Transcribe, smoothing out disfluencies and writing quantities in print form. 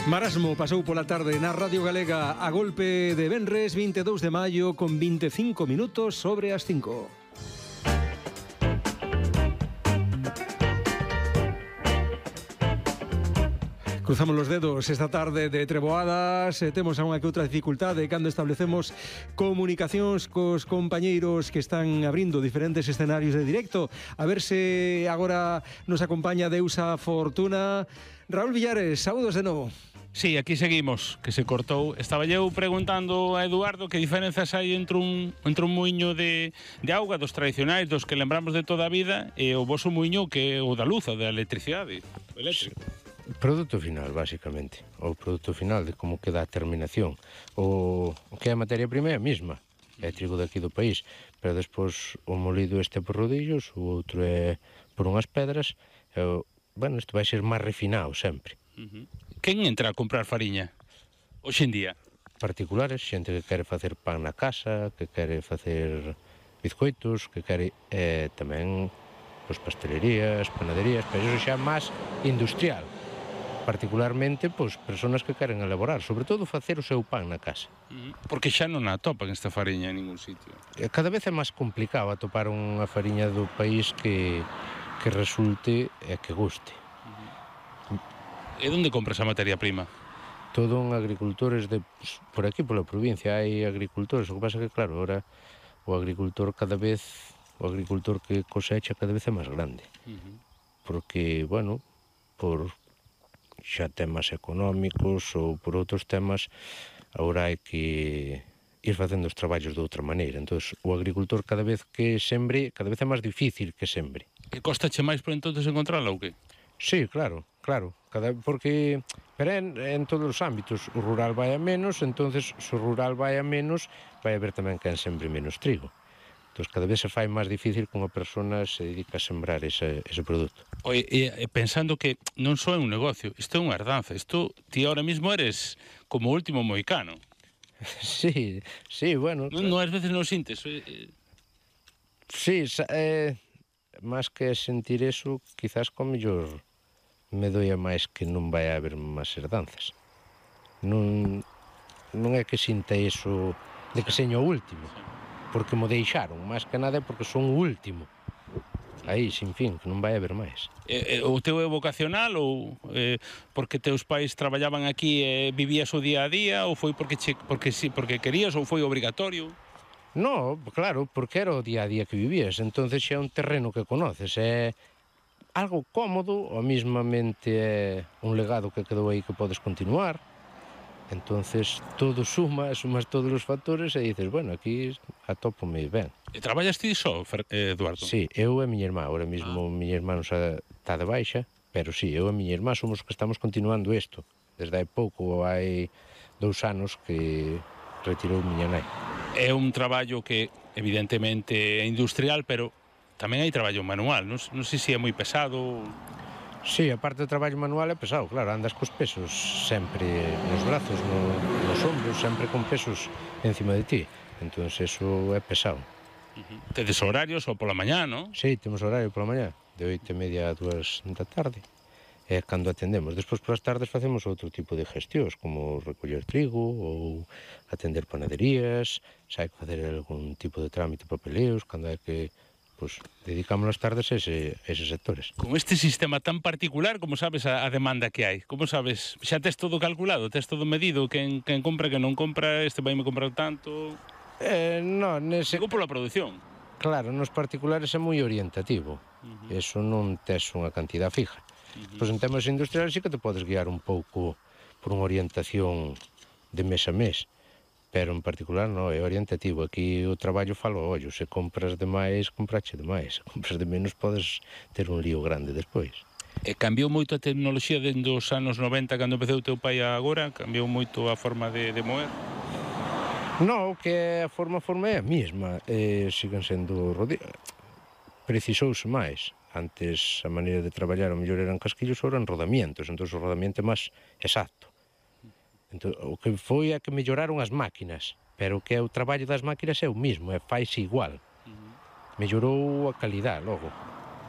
Marasmo pasou pola tarde na Radio Galega a golpe de venres 22 de maio con 25 minutos sobre as 5. Cruzamos los dedos esta tarde de treboadas, temos a unha que outra dificultade cando establecemos comunicacións cos compañeiros que están abrindo diferentes escenarios de directo. A ver se agora nos acompaña Deusa Fortuna. Raúl Villares, saúdos de novo. Sí, aquí seguimos, que se cortou. Estaba eu preguntando a Eduardo que diferenzas hai entre un muiño de auga dos tradicionais, dos que lembramos de toda a vida, e o voso muiño que é o da luz, o da electricidade, o eléctrico. Produto final, basicamente. O produto final de como queda a terminación. O que é a materia prima é a mesma. É trigo daqui do país. Pero despois o molido este por rodillos, o outro é por unhas pedras. Bueno, isto vai ser máis refinado sempre. Quen entra a comprar fariña hoxe en día? Particulares, xente que quere facer pan na casa, que quere facer bizcoitos, que quere tamén pastelerías, panaderías, pero iso xa é máis industrial. Particularmente, persoas que queren elaborar, sobre todo facer o seu pan na casa. Porque xa non atopan esta fariña en ningún sitio. Cada vez é máis complicado atopar unha fariña do país que resulte e que guste. E onde compras a materia prima? Todo en agricultores por aquí, pola provincia, hai agricultores. O que pasa que, claro, ahora o agricultor que cosecha cada vez é máis grande. Porque, bueno, por xa temas económicos ou por outros temas, agora hai que ir facendo os traballos de outra maneira. Entón, o agricultor cada vez que sembre, cada vez é máis difícil que sembre. E costache máis por entonces encontrarla ou que? Sí, claro. Porque pero en todos os ámbitos o rural vai a menos, entonces se o rural vai a menos, vai haber tamén quen sembre menos trigo. Entón, cada vez se fai máis difícil que unha persona se dedica a sembrar ese produto. Oye, pensando que non só é un negocio, isto é unha herdanza, ti ahora mismo eres como o último moicano. Sí, bueno. Non ás veces non sintes. Sí, máis que sentir eso, quizás con mellor me doia máis que non vai haber máis herdanzas. Non é que sinta eso de que seño o último, porque mo deixaron, máis que nada porque son o último. Aí, sin fin, que non vai haber máis. O teu é vocacional ou porque teus pais traballaban aquí e vivías o día a día, ou foi porque querías ou foi obrigatorio? No, claro, porque era o día a día que vivías, entonces xa é un terreno que conoces, é algo cómodo, ou mesmamente é un legado que quedou aí que podes continuar. Entonces todo sumas todos os factores e dices, bueno, aquí atópome ben. E traballas ti só, Eduardo? Sí, eu e a miña irmá, ahora mesmo miña irmá non está de baixa, pero sí, eu e a miña irmá somos os que estamos continuando isto. Desde hai pouco, hai 2 anos que retirou miña nai. É un traballo que evidentemente é industrial, pero tamén hai traballo manual, non sei se é moi pesado. Sí, a parte do traballo manual é pesado, claro, andas cos pesos sempre nos brazos, nos ombros, sempre con pesos encima de ti. Entón, eso é pesado. Tedes horarios ou pola mañá, non? Sí, temos horario pola mañá, de 8:30 a 2 da tarde. É cando atendemos. Despois, polas tardes, facemos outro tipo de gestións, como recoller trigo ou atender panaderías, se hai que facer algún tipo de trámite papeleos, cando hai que dedicamos as tardes a eses sectores. Con este sistema tan particular, como sabes a demanda que hai? Como sabes? Xa tes todo calculado, tes todo medido? Quen compra, quen non compra, este vai me comprar tanto? Non, Digo pola produción. Claro, nos particulares é moi orientativo. Eso non tes unha cantidad fija. Pois en temas industriales sí que te podes guiar un pouco por unha orientación de mes a mes. Pero en particular non, é orientativo. Aquí o traballo falo ao ollo. Se compras demais, comprache demais. Se compras de menos, podes ter un lío grande despois. E cambiou moito a tecnoloxía dende os anos 90, cando empeceu o teu pai agora? Cambiou moito a forma de moer? Non, que a forma é a mesma. Siguen sendo precisouse máis. Antes a maneira de traballar o mellor eran casquillos, ou eran rodamientos. Entón o rodamiento é máis exacto. Entón, o que foi é que melloraron as máquinas, pero o que é o traballo das máquinas é o mismo, faise igual. Mellorou a calidad logo.